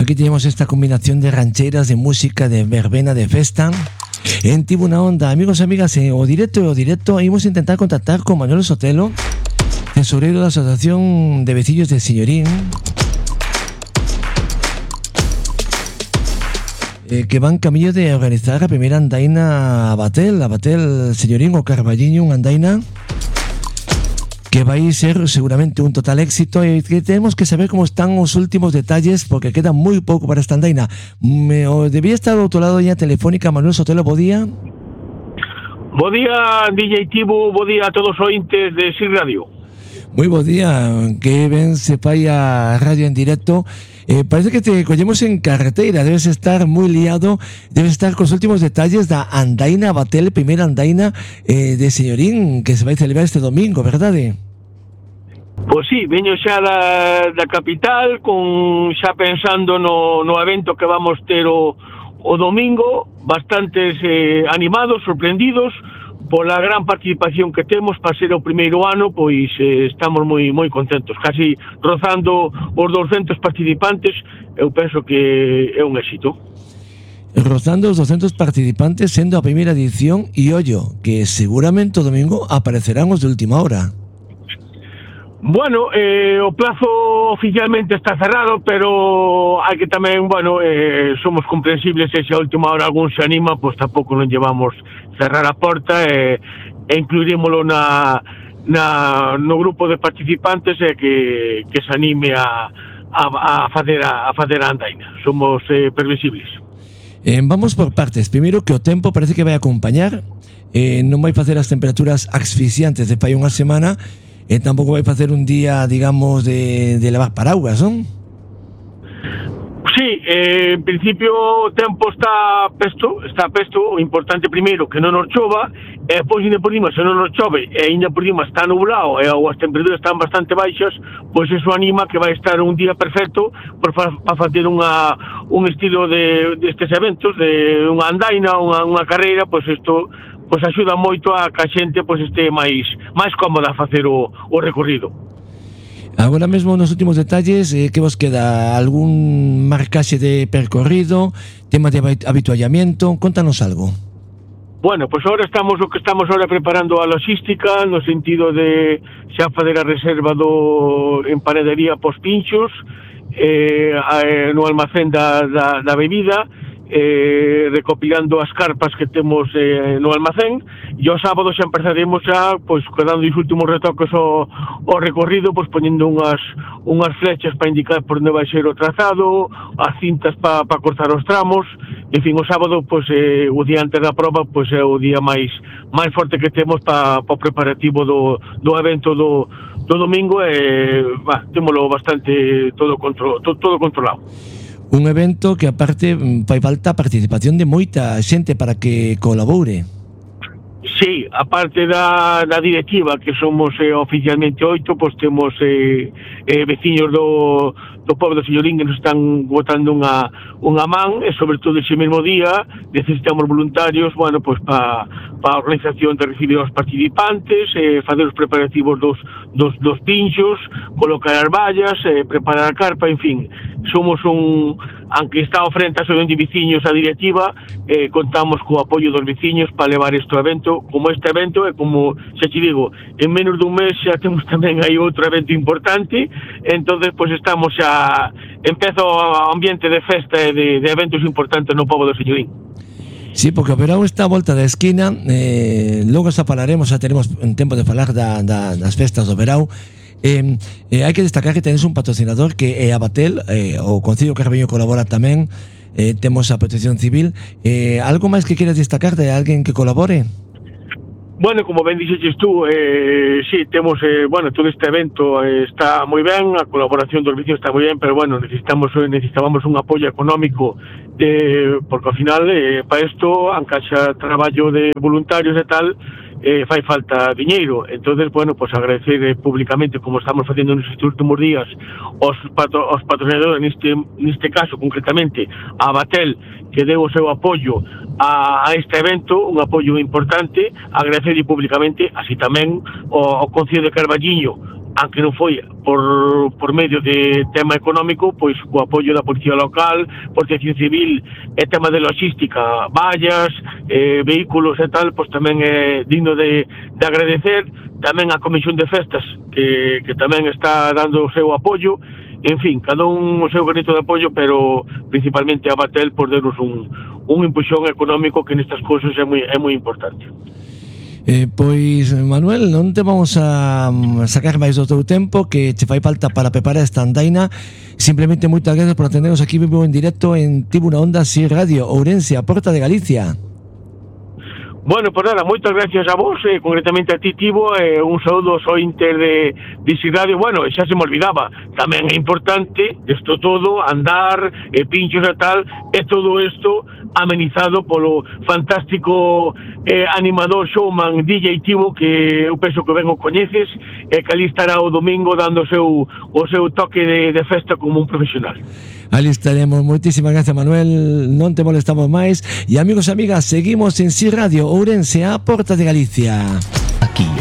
Aquí tenemos esta combinación de rancheras, de música, de verbena, de festa. En Tribuna Onda, amigos e amigas, o directo, íbamos a intentar contactar con Manuel Sotelo, tesorero de la Asociación de Vecinos de Señorín, que van camino de organizar la primera andaina a Batel, Señorín o Carballiño, una andaina que va a ser seguramente un total éxito y que tenemos que saber cómo están los últimos detalles porque queda muy poco para esta andaina. Debía estar ao outro lado ya telefónica Manuel Sotelo, bo día. Bo día, DJ Tibu, bo día a todos os ointes de SIR Radio. Muy bo día, que ben se fai a radio en directo. Parece que te collemos en carretera, debes estar moi liado, debes estar cos últimos detalles da andaina Batel, primeira andaina de Señorín, que se vai celebrar este domingo, verdade? Pois sí, veño xa da capital, xa pensando no evento que vamos ter o domingo, bastantes animados, sorprendidos, pola gran participación que temos para ser o primeiro ano, pois estamos moi contentos, casi rozando os 200 participantes, eu penso que é un éxito. Rozando os 200 participantes sendo a primeira edición e ollo, que seguramente o domingo aparecerán os de última hora. Bueno, o plazo oficialmente está cerrado, pero hai que tamén, somos comprensibles se a última hora algún se anima, pois tampouco non llevamos cerrar a porta e incluirímolo no grupo de participantes que se anime a facer a andaina. Somos previsibles. Vamos por partes. Primeiro que o tempo parece que vai acompañar, non vai facer as temperaturas asfixiantes de fai unha semana, e tampouco vai facer un día, digamos, de lavar paraguas, non? Sí, en principio o tempo está pesto, o importante primeiro que non nos chova, e depois ainda por riba, se non nos chove e ainda por riba está nublado e as temperaturas están bastante baixas, pois eso anima que vai estar un día perfecto para facer un estilo destes eventos, de unha andaina, unha carreira, pois isto pois axuda moito a que a xente pois este máis cómoda a facer o recorrido. Agora mesmo nos últimos detalles, que vos queda? Algún marcaxe de percorrido, tema de habituallamiento? Contanos algo. Bueno, pois agora estamos preparando a logística no sentido de xa fazer a reserva en panadería pos pinchos, no almacén da bebida, recopilando as carpas que temos no almacén, e o sábado xa empezaremos pois dando os últimos retoques ao recorrido, pois poñendo unhas flechas para indicar por onde vai ser o trazado, as cintas para cortar os tramos. En fin, o sábado, pois o día antes da prova, pois é o día máis forte que temos para o preparativo do evento do domingo, e témolo bastante todo controlado. Un evento que aparte fai falta a participación de moita xente para que colabore. Sí, aparte da directiva, que somos oficialmente 8, pois temos veciños do pobo de Señorín que nos están botando unha man, e sobre todo ese mesmo día necesitamos voluntarios, pois para a organización de recibir aos participantes, fazer os preparativos dos pinchos, colocar as vallas, preparar a carpa, en fin, somos aunque está ao frente a asociación de veciños a directiva, contamos co apoio dos veciños para levar este evento, como este evento, e como xa te digo, en menos dun mes xa temos tamén aí outro evento importante, entonces pois estamos xa, empezo o ambiente de festa e de eventos importantes no pobo do Señorín. Sí, porque o verão está a volta da esquina, logo xa falaremos, xa teremos en tempo de falar das festas do verão. Hai que destacar que tenes un patrocinador que é a Batel, o Concello Carballiño colabora tamén, temos a Protección Civil. Algo máis que queres destacar de alguén que colabore? Bueno, como ben dixeches tú, sí, temos, todo este evento está moi ben, a colaboración dos vecinos está moi ben, pero necesitábamos un apoio económico, porque ao final, para isto, aunque xa traballo de voluntarios e tal, fai falta diñeiro. Entonces, pois agradecer públicamente, como estamos facendo nestes últimos días, os patrocinadores, neste caso concretamente a Batel, que deu o seu apoio a este evento, un apoio importante, agradecer públicamente, así tamén ao Concello de Carballiño, aunque non foi por medio de tema económico, pois co apoio da Policía Local, Protección Civil e tema de logística, vallas, vehículos e tal, pois tamén é digno de agradecer. Tamén a Comisión de Festas que tamén está dando o seu apoio. En fin, cada un o seu granito de apoio, pero principalmente a Batel por darnos un impulsión económico que nestas cousas é moi importante. Pois, Manuel, non te vamos a sacar máis do teu tempo, que te fai falta para preparar esta andaina. Simplemente moitas gracias por atendernos aquí vivo en directo en Tribuna Onda Si Radio Ourense, a Porta de Galicia. Bueno, pues nada, moitas gracias a vos, concretamente a ti, Tibo, un saúdo ao Inter de Si Radio. Bueno, xa se me olvidaba, tamén é importante isto todo, andar, pinchos e tal, e todo isto amenizado polo fantástico animador showman DJ Tibo, que eu penso que ben o coñeces, e que ali estará o domingo dando o seu toque de festa como un profesional. Ali estaremos. Moitísimas gracias, Manuel, non te molestamos máis. E amigos e amigas, seguimos en Si Radio Ourense, a Porta de Galicia.